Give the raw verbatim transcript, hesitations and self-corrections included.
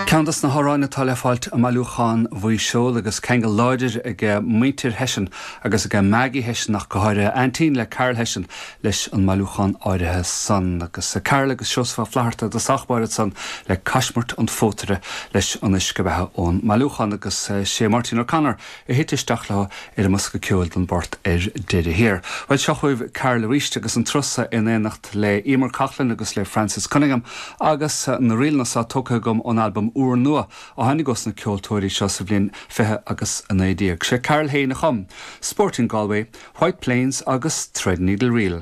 Ceann des na hamhráin atá le fáilt i mbailiúchán Mhaigh Seol agus ceangal láidir ag muintir Hession agus ag Maggie Hession ach go háirithe aintín le Carol Hession leis an mbailiúchán áirithe san agus Carol agus Seosamh Ó Flatharta de sachbáid san le Caismirt an Phótaire leis an uisce beatha ón mbailiúchán agus sé Martin O'Connor a thit isteach leo ar an mbosca ceoil don bport ar deireadh thiar. Well seo chugaibh Carol arís agus an turas seo in éineacht le Emer Coughlin agus le Francis Cunningham agus na ríleanna seo tógtha agam ón albam úrnua a tháinig ó na ceoltóirí seo sa bhliain fiche agus a naoi déag. Sé Carol féin a chum, Sporting Galway, White Plains agus Threadneedle Reel.